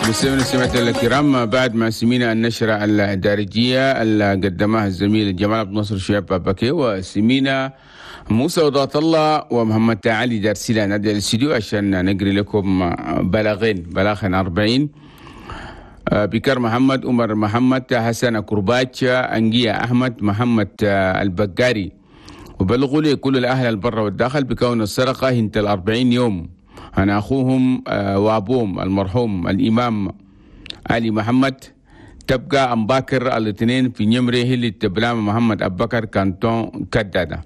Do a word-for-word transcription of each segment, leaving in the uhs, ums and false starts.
مستمعينا السمعة الكرام، بعد ما سمينا النشرة الدارجية اللي قدمها الزميل جمال عبد الناصر شياب بابكي، وسمينا موسى وضات الله ومحمد علي دارسيلا نادي الاستديو عشان نقري لكم بلاغين، بلاغين أربعين. بكر محمد، عمر محمد، حسن كرباج، أنجية أحمد، محمد البقاري، وبلغوا لي كل الأهل البر والداخل بكون السرقة هنت الأربعين يوم. أنا أخوهم وأبوهم المرحوم الإمام علي محمد تبقى أم باكر الاثنين في نمره اللي تبلام محمد أبو بكر كانتون كدادة.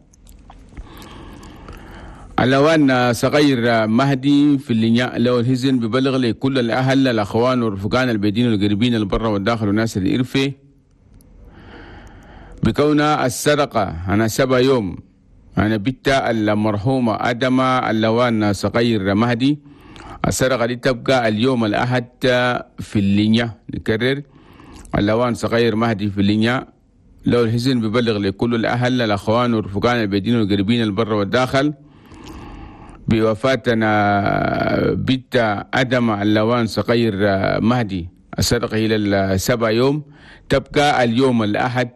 اللوان صغير مهدي في اللي لو الهزن ببلغ لكل الأهل الأخوان والرفقان البيدين والقريبين البر والداخل والناس الإرفي بكون السرقة أنا سبع يوم. أنا بنت المرحومة أدم اللوان صغير مهدي، السرقة دي تبقى اليوم الأحد في اللينيا. نكرر، اللوان صغير مهدي في اللينيا لو الحزن ببلغ لكل الأهل الأخوان والرفقان البيدين والقريبين البر والداخل بوفاتنا بنت أدم اللوان صغير مهدي، السرقة إلى السبع يوم تبقى اليوم الأحد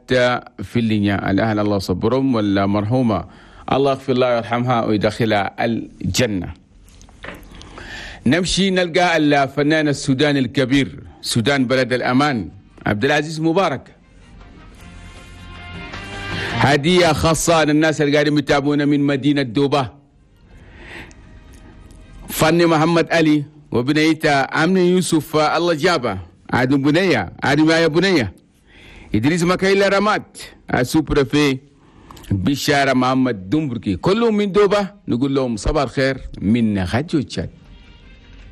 في اللينيا. الأهل الله صبرهم، والمرحومة الله يغفر الله ويرحمها ويدخلها الجنة. نمشي نلقى الفنان السوداني الكبير، سودان بلد الأمان، عبد العزيز مبارك. هدية خاصة للناس اللي قاعدين يتابعونا من مدينة دوبة، فني محمد علي وبنيته أمن يوسف الله جابه، عاد بنية عاد يا بنية، إدريس مكايلا رمات السوبر في بشارة محمد دمبركي، كلهم من دوبة. نقول لهم صباح الخير من غجو تشاد.